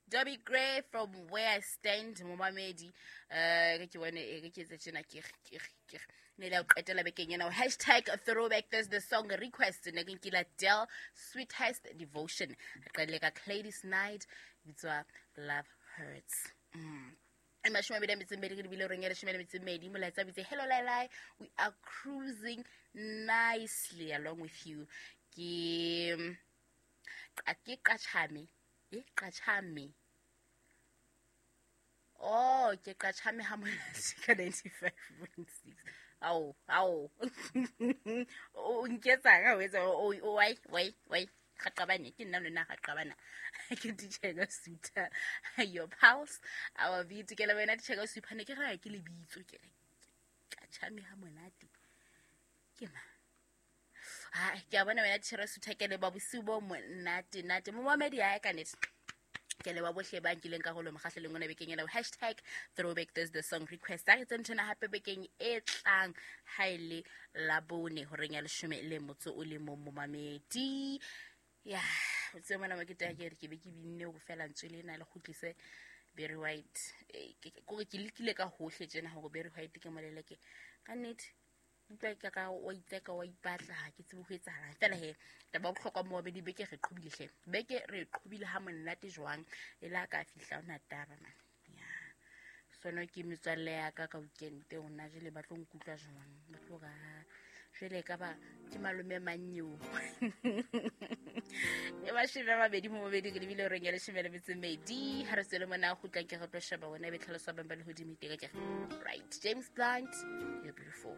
Dobby Gray from Where I Stand, momamedi. Ke bone e ke etse tjena ke ke ke ne le qetela bekeng ena. #ThrowbackThursday song request ne ke nkila Del Sweetest Devotion. Re qadile ka Gladys Knight bitswa Love Hurts. E 28 ke lebile reng ya 12 molaetsa bitse hello Lailai, we are cruising nicely along with you. Ke ke qachame e qachame oh ke qachame ha monate ka 95.6. Ao ao o nketsang ha o etsa o wai wai wai ga qabane ke nna lona ga qabana ke ditšheka suta your pulse our beat ke le wena ditšheka supa ne ke ra ke lebitso ke re qachame ha monate ke ma ha ke a bona wena tšhera sutha ke leba bosiu bo monate nate momamedi ya ka nete ke leba bohle ba nkileng karolo mokgahlelong ona bekeng ena. #ThrowbackThursday song request a re tse nthona hape bekeng e tlang ha e le Labone horeng ya 11 momamedi. Ya o tsebe mona mo ke taya ke re ke be ke binne go fela ntswe lena le kgutlise Barry White. Kore ke lekile ka hohle tjena hore Barry White ke moleleke ka nnete. Utlwa ka ka wa itseka wa ipatla ha ke tsebe ho etsahalang fela he taba ya bohlokwa mo babedi beke re qhobile hle beke re qhobile ha monate jwang e la ka fihla ona taba man ya sono ke metswalle ya ka ka weekend ona jele ba tlo nkutlwa jwang ba tlo ra jwale ka ba ke malome manyeo e 20 mo mabedi ke lebile reng ya 12 ha re tswele mona go tlang ke re tlo sheba wena e be tlhaloso bang ba lehodimo iteka ke right. James Blunt, you're beautiful.